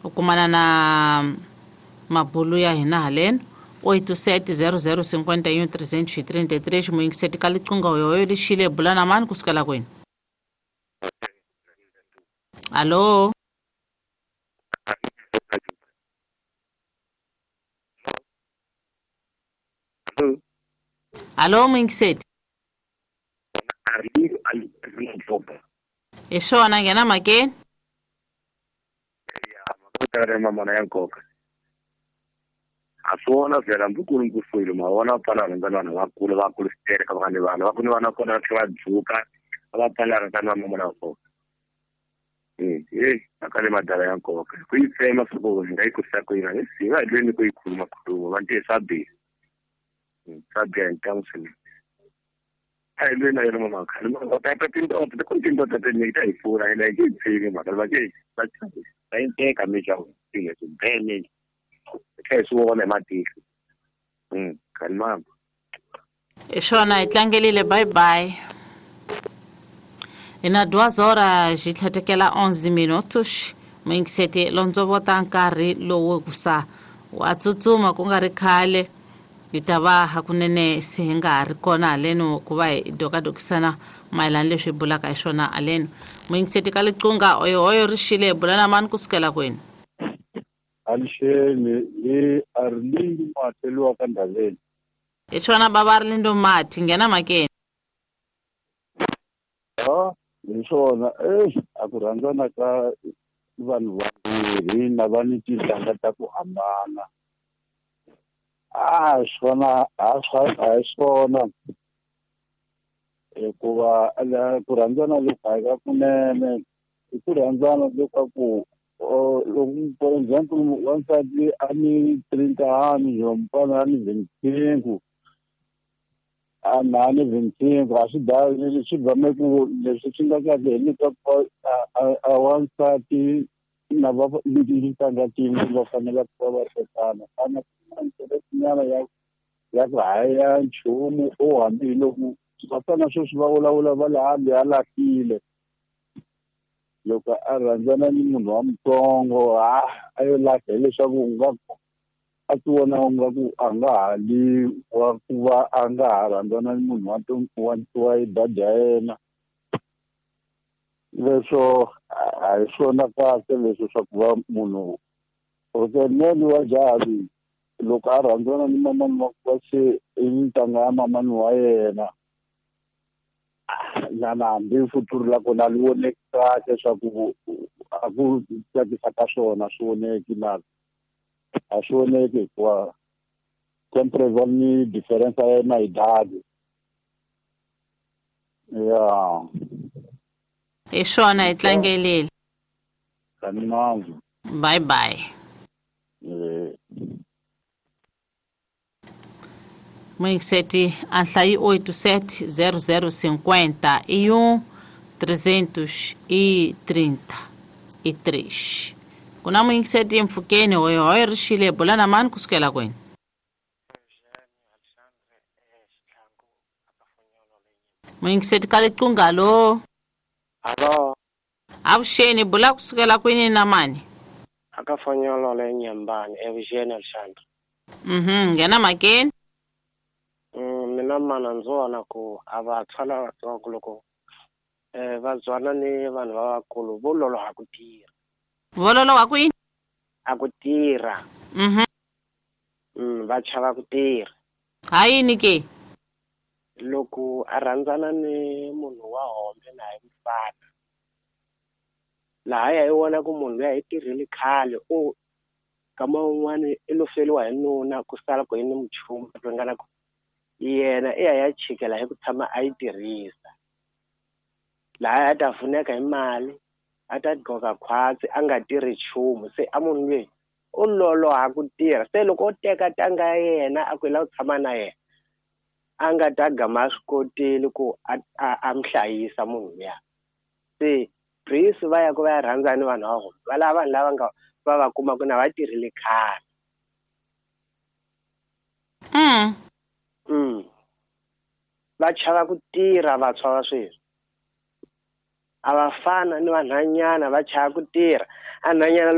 U kumana na mabulu ya hina haleno 87 00 51 333. Muyingiseti ka liqinga hoyohoyo lixile, bula na mani kusukela kwini? Alo, alo, muyingiseti. Hi swona, nghena mhakeni. Mamana ya nkoka a swi vona vhela hambi ku ri nkusulu ma vona va pfala rhandza vanhu vakulu vakulu switereka va nga ni vana va ku ni vana kona va tlhela va dzuka a va pfala rhandza na mamana wa nkoka. Heyi mhaka le madala ya nkoka ku yi tsema swa ku hi nga yi kurisa ku yini hi va hi lweni ku yi khuluma khuluma va ntiye swa biha, swa biha hi ntamu swinene. A hi lweni na yona mama khale ta tindoda ku ni tindoda tinyingi ta hi pfuna hina hi nge yi tshiki mhaka va nge va va yi teka mi xa swilo swibene hi tlhela hi swi vona hi matihlo. Khani mama. Hi swona, hi tlangelile. Bye bye. Hi na 2 horas hi tlhatekela 11 minutos. Muyingiseti, londzovota nkarhi lowu kusa wa tsutsuma, ku nga ri khale hi ta va hakunene se hi nga ha ri kona haleno ku va hi dokadokisana mayelana leswi hi bulaka hi swona haleno. Muyingiseti ka liqunga, oyohoyo ri xile, hi bula na mani kusukela kwini? Alixeni, hi Arlindo Mateliwa ka Ndhaveni. Hi swona, bava Arlindo Mati, nghena mhakeni. A hi swona, e a ku rhandzana ka vanhu vambirhi na va ni tintangha ta ku hambana, a swona a swa a hi swona, hikuva ku rhandzana loku a hi ka kunene, i ku rhandzana leswaku loko, for example, wansati a ni 30 anos, mufana a ni 25, a na ni 25, a swi da swi bame ku leswi swi nga kahle hileswaku a wansati na va tintangha tin'we va fanele ku va va tekana ana nyana ya ku haya nchumu o hambi loko vafana sweswi va vulavula va le hambi a lahlile loko a rhandzana ni munhu wa mutsongo, a a yo lahla hileswaku u nga a ti vona u nga ku a nga ha li wa ku va a nga ha rhandzana ni munhu wa idadi ya yena. Leswo a hi swona kahle leswi swa ku va munhu nene wa jaha loko a rhandzana ni mamani wa ku va se i ntanga ya mamani wa yena na hambi futuru la kona a li voneki kahle swa ku a ku tsakisa ka swona swi voneki na a swi voneki, hikuva sempre va ni difference ya yena idade ya. Hi swona, hi tlangelile. Kani. Bye bye. Eh. Muyingiseti, anhlayi 87 00 51 333. Ku na muyingiseti mpfhukeni, hoyohoyo ri xile, bula na mani kusukela kwini? Muyingiseti ka liqunga, lo. Alo. Avuxeni, bula kusukela kwini na mani? Akafonyolo le Nyambani, evuxeni Alexandre. Nghena mhakeni. Mina mana ndzi vona ku a vantshwa lavatsongo loko va byana ni vanhu lavakulu vo loloha ku tirha. Vo loloha ku yini? A ku tirha. Va chava ku tirha. Ha yini ke? Loko a rhandzana ni munhu wa hombe na hi mufana lahaya i vona ku munhu luya i tirhile khale, u kama un'wani i lo feriwa hi nuna, ku sala ku i ni muchumu ringana ku yena i ya ya chikela hi ku tshama a yi tirhisa lahaya, a ta pfuneka hi mali, a ta gqoka khwatsi a nga tirhi nchumu. Se a munhu loyi u loloha ku tirha, se loko o teka tanga ya yena a ku i lava ku tshama na yena, a nga ta gama a swi kotile ku a mi hlayisa munhu luya. Se Greece va ya ku va ya rhandza ni vanhu va vona, va lava vanhu lava nga va kumaka na va tirhile khale. Va chava ku tirha vantshwa va sweswi, a va fana ni vanhwanyana, va chava ku tirha anhwanyana loko.